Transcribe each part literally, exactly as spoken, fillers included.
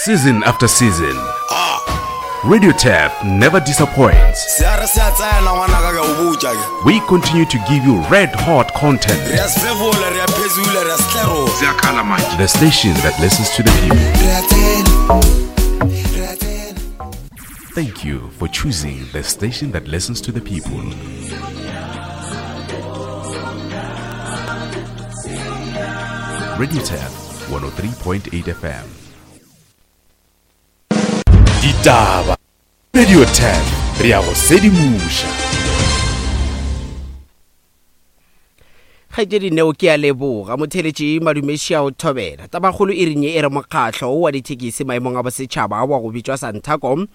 Season after season, Radio Tap never disappoints. Se a re se a tsena ngwanaka ke a o botša ke. We continue to give you red hot content. Re a sefefola, re a phezula, re a setlerola. Ziyakhala manje. The station that listens to the people. Re a tsena. Re a tsena. Thank you for choosing the station that listens to the people. Radio Tap one oh three point eight F M. Ditaba. Radio Tap, re a go sedimoša. Kgaetšedi Neo ke a leboga. Motheletši Madumeši a o thobela. Tabakgolo e renye e re mokgahlo wa dithekisi maemong a bosetšhaba wa go bitšwa Santaco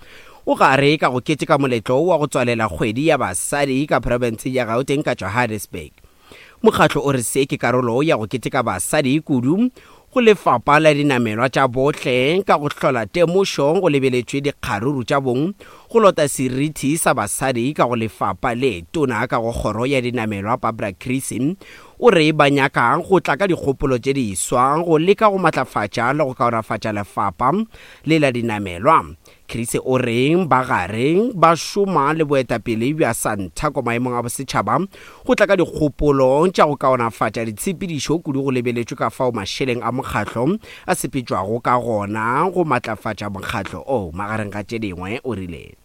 o gare ka go keteka moletlo wa go tswalela kgwedi ya basadi ka profenseng ya Gauteng ka Johannesburg. Mokgahlo o re se ke karolo ya go keteka basadi kudu go lefapha la dinamelwa tša bohle ka go hlola temošo go lebeletšwe dikgaruru tša bong go lota seriti sa basadi ka go lefapha le tona ka go kgoro ya dinamelwa Barbara Creecy o re ba nyaka go tla ka dikgopolo tše diswa go leka go matlafatša le go kaonafatša lefapha le la dinamelwa. Creecy o re ba gare ba šoma le boetapele bja Santaco maemong a bosetšhaba go tla ka dikgopolo tša go kaonafatša ditshepedišo kudu go lebeletšwe ka fao mašeleng a mokgahlo a sepetšwago ka gona go matlafatša mokgahlo o magareng ga tše dingwe o rile.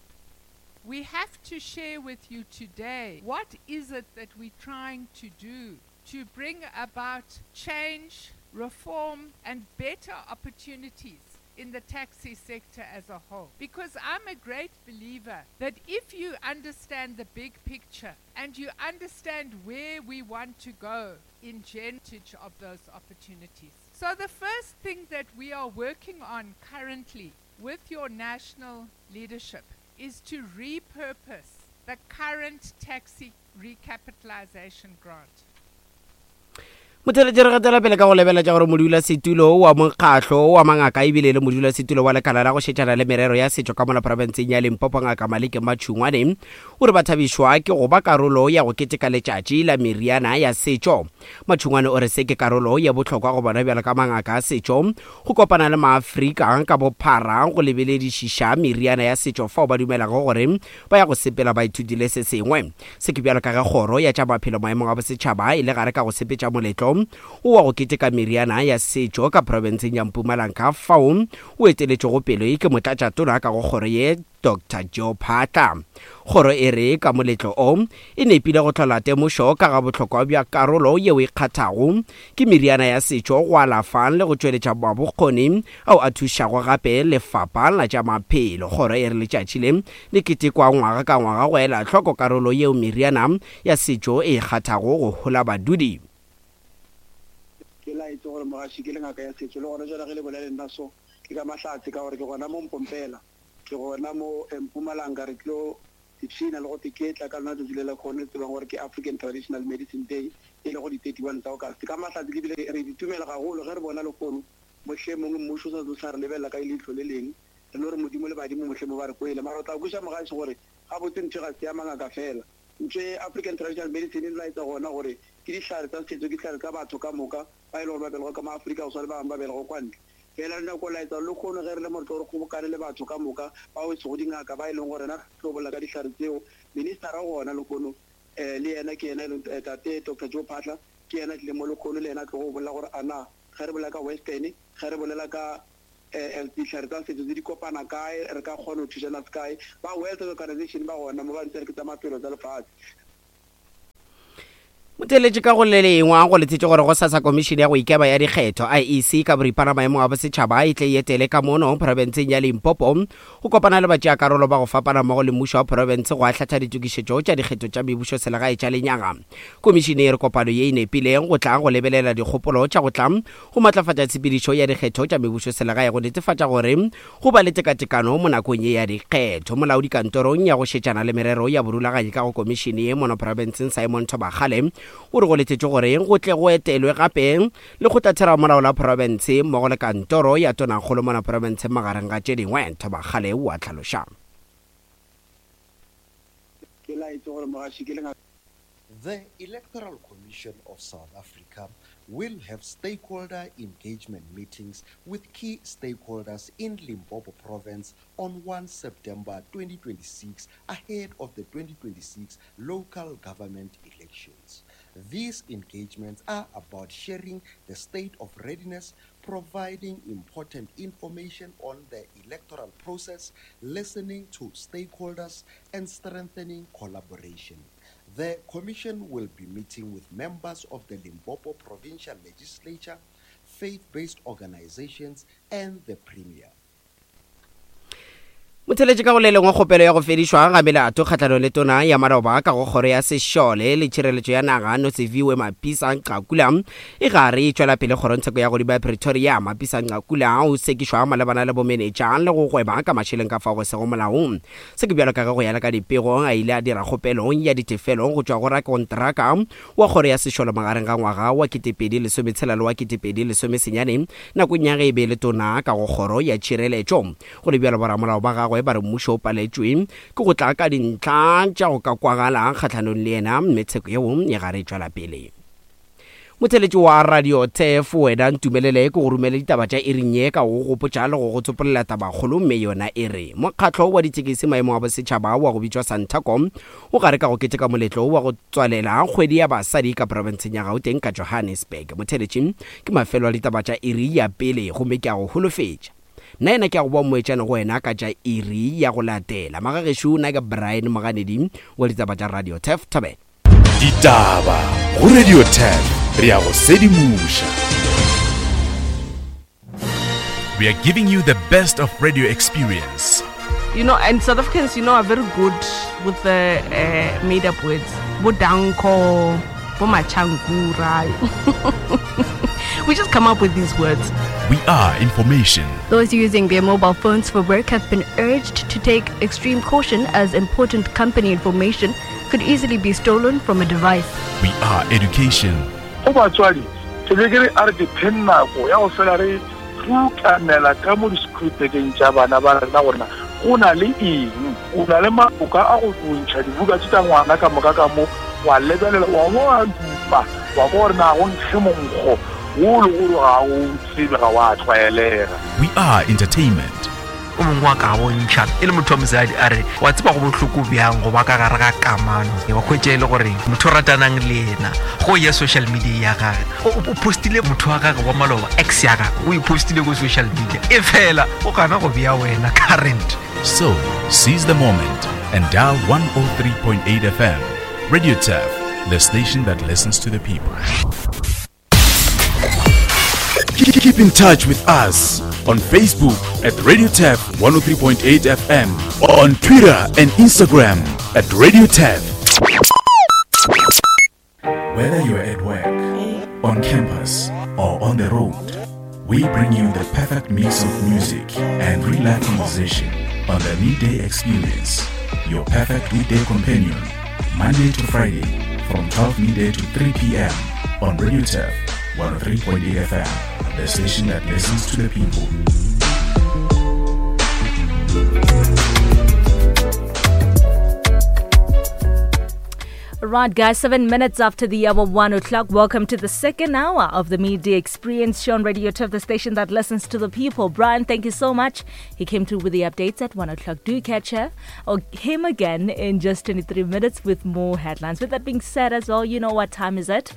We have to share with you today what is it that we're trying to do to bring about change, reform and better opportunities in the taxi sector as a whole. Because I'm a great believer that if you understand the big picture and you understand where we want to go in advantage of those opportunities. So the first thing that we are working on currently with your national leadership is to repurpose the current taxi recapitalization grant. Motheletši re gatela pele ka go lebeletša gore modulasetulo wa mokgahlo wa mangaka ebile le modulasetulo wa lekala la go šetšana le merero ya setšo ka mola profenseng ya Limpopo Ngaka Maleke Matšhungwane o re ba thabišwa ke go ba karolo ya go keteka letšatši la meriana ya setšo. Matšhungwane o re se ke karolo ya bohlokwa go bona bjalo ka mangaka a setšo go kopana le maAfrika ka bophara go lebeledišiša meriana ya setšo fao ba dumelago gore ba ya go sepela ba ithutile se sengwe. Se ke bjalo ka ge kgoro ya tša maphelo maemong a bosetšhaba e le gare ka go sepetša moletlo o wa go keteka meriana ya setšo ka profenseng ya Mpumalanga fao o eteletšego pele ke motlatšatona ka go kgoro ye Doctor Joe Phaahla. Kgoro e re ka moletlo o e nepile go hlola temošo ka ga bohlokwa bja karolo yeo e kgathago ke meriana ya setšo go alafa le go tšweletša mabokgoni ao a thušago gape lefapha la tša maphelo. Kgoro e re letšatši le le ketekwa ngwaga ka ngwaga go ela hloko karolo yeo meriana ya setšo e kgathago go hola badudi. Ke laetše gore mogaši ke le ngaka ya setšo le gona jwale ge le bolele nna so ke ka mahlatse ka gore ke gona mo Mpompela ke gona mo Mpumalanga re tlo ipshina le go teketla ka lona tšatši le la kgone le tsebang gore ke African Traditional Medicine Day e le go di thirty-one tsa August. Ka mahlatse ke bile re ditumela gagolo ge re bona lehono mohlomongwe mmušo o sa tlo sa re lebelela ka leihlo le leng re no re modimo le badimo mohlomongwe ba re kwele mara o tla kweša mogaši gore gabotse ntho ga se ya mangaka fela. Ntho e African Traditional Medicine e laetsa gona gore ke dihlare tsa setšo ke dihlare tsa batho ka moka ba e le gore ba belegwa ka maAfrika go swana le ba bangwe ba belegwa kwa ntle. Fela re nyako laetsa le kgono ge re le mo re tlo re kgobokane le batho ka moka bao e sego dingaka ba e leng gore rena re tlo bolela ka dihlare tseo. Ministera gona lehono um le yena ke yena e leng tate Doctor Joe Phaahla ke yena tlile mo lehono le yena a tlo go bolela gore ana ge re bolela ka western ge re bolela ka dihlare tsa setšo tse di kopana kae re ka kgona go thušana se kae. Ba World Health Organization ba gona mo ba ntse re ke tsa maphelo tsa lefatshe. Motheletši ka go le lengwe go letsetše gore go sasa komišene ya go ikema ya dikgetho I E C ka boripana maemong a bosetšhaba e tle e etele ka mono profenseng ya Limpopo go kopana le batšeakarolo ba go fapana mmogo le mmušo wa profense go ahlatha ditokišetšo tša dikgetho tša mebušo selegae tša lenyaga. Komišene e re kopano ye e nepileng go tla go lebelela dikgopolo tša go tla go matlafatša tshepedišo ya dikgetho tša mebušo selegae go netefatša gore go ba le tekatekano mo nakong ye ya dikgetho. Molaodi kantorong ya go šetšana le merero ya borulaganyi ka go komišene ye mono profenseng Simon Thobakgale o re go letetše gore go tle go etelwe gape lekgotlatheramolao la profense mmogo le kantoro ya tonakgolo mona profenseng magareng ga tše dingwe. Thobakgale o a hlaloša. Ke laetše gore mogaši ke le ngaka. The Electoral Commission of South Africa will have stakeholder engagement meetings with key stakeholders in Limpopo Province on first September twenty twenty-six ahead of the twenty twenty-six local government elections. These engagements are about sharing the state of readiness, providing important information on the electoral process, listening to stakeholders, and strengthening collaboration. The Commission will be meeting with members of the Limpopo Provincial Legislature, faith-based organizations, and the Premier. Motheletše ka go le lengwe kgopelo ya go fedišwa ga melato kgahlanong le tona ya maloba ka go kgoro ya sešole le tšhireletšo ya naga Nosiviwe Mapisa Nqakula e gare e tšwela pele kgorongtsheko ya godimo ya Pretoria. Mapisa Nqakula o sekišwa malebana le bomenetša le go gweba ka mašeleng ka fao go sego molaong. Se ke bjalo ka ge go ya le ka dipego a ile a dira kgopelo ya ditefelo go tšwa go rakontraka wa kgoro ya sešole magareng ga ngwaga wa ketepedi lesometshela le wa ketepedi lesomesenyane nakong ya ge e be le tona ka go kgoro ya tšhireletšo. Go le bjalo boramolao ba gagwe ba re mmušo o paletšwe ke go tla ka dintlha tša go ka kwagala kgahlanong le yena, mme tsheko yeo e gare e tšwela pele. Motheletši wa Radio Turf wena ntumelele ke go romele ditaba tša iring ye ka go gopotša le go go tsopolela tabakgolo, mme yona e re mokgatlo wa ditekesi maemo a bosetšhaba wa go bitšwa Santaco o gare ka go keteka moletlo wa go tswalela kgwedi ya basadi ka profenseng ya Gauteng ka Johannesburg. Motheletši ke mafelo a ditaba tša iri ya pele, gomme ke a go holofetša nna ena ke a go boa moetšane go wena ka tša iri ya go latela. Magagešo nna ke Brian Moganedi wa ditaba tša Radio Turf. Thobela ditaba go Radio Turf, re ya go sedimoša. We are giving you the best of radio experience. You know, and South Africans, you know, are very good with the uh, made-up words. Bodanko, Bomachangura. We just come up with these words. We are information. Those using their mobile phones for work have been urged to take extreme caution as important company information could easily be stolen from a device. We are education. Go batswadi, ke be ke re a re ke pheng nako ya go fela re rukanela ka mo di-scripteng tša bana ba rena gore go na le eng, o na le maboka a go bontšha dibuka tše tša ngwana ka moka ka mo, wa lebelela wa bo wa dupa wa kwa gore na go nkge monkgo wo le gore ga o tsebe ga wa tlwaelega. We are entertainment. O mongwe wa ka bontšha e le motho wa mosadi a re wa tseba go bohloko bjang go ba ka gare ga kamano, wa hwetša e le gore motho o ratanang le yena go ya social media ya gage o postile motho wa gage wa maloba ex ya gage o e postile ko social media e fela o gana go bea wena current. So seize the moment and dial one oh three point eight F M. Radio Turf, the station that listens to the people. Keep in touch with us on Facebook at Radio Turf one oh three point eight F M, on Twitter and Instagram at Radio Turf. Whether you're at work, on campus, or on the road, we bring you the perfect mix of music and real-life conversation on the Midday Experience, your perfect weekday companion, Monday to Friday from twelve midday to three p.m. on Radio Turf one oh three point eight F M, the station that listens to the people. Right, guys, seven minutes after the hour one o'clock. Welcome to the second hour of the Midday Experience show on Radio Turf, the station that listens to the people. Brian, thank you so much. He came through with the updates at one o'clock. Do catch her or him again in just twenty-three minutes with more headlines. With that being said as well, you know what time is it?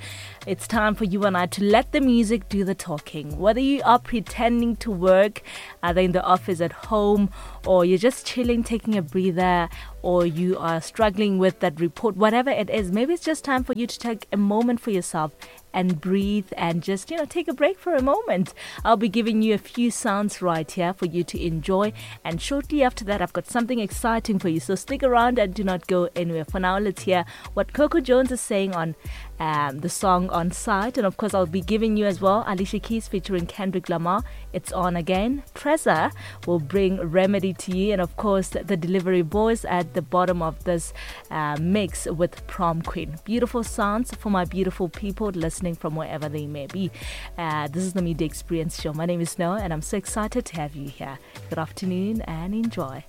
It's time for you and I to let the music do the talking. Whether you are pretending to work, either in the office, at home, or you're just chilling, taking a breather, or you are struggling with that report, whatever it is, maybe it's just time for you to take a moment for yourself and breathe and just, you know, take a break for a moment. I'll be giving you a few sounds right here for you to enjoy. And shortly after that, I've got something exciting for you. So stick around and do not go anywhere. For now, let's hear what Coco Jones is saying on um, the song On Site. And of course, I'll be giving you as well Alicia Keys featuring Kendrick Lamar. It's On Again. Trezor will bring Remedy to you. And of course, the Delivery Boys at the bottom of this uh, mix with Prom Queen. Beautiful sounds for my beautiful people listening from wherever they may be. Uh, this is the Midday Experience Show. My name is Noah, and I'm so excited to have you here. Good afternoon and enjoy.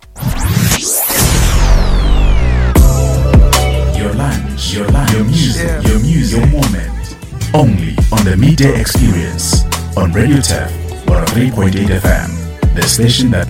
Your lunch, your lunch, your music, yeah. Your music, your moment. Only on the Midday Experience on Radio Turf one oh three point eight F M, the station that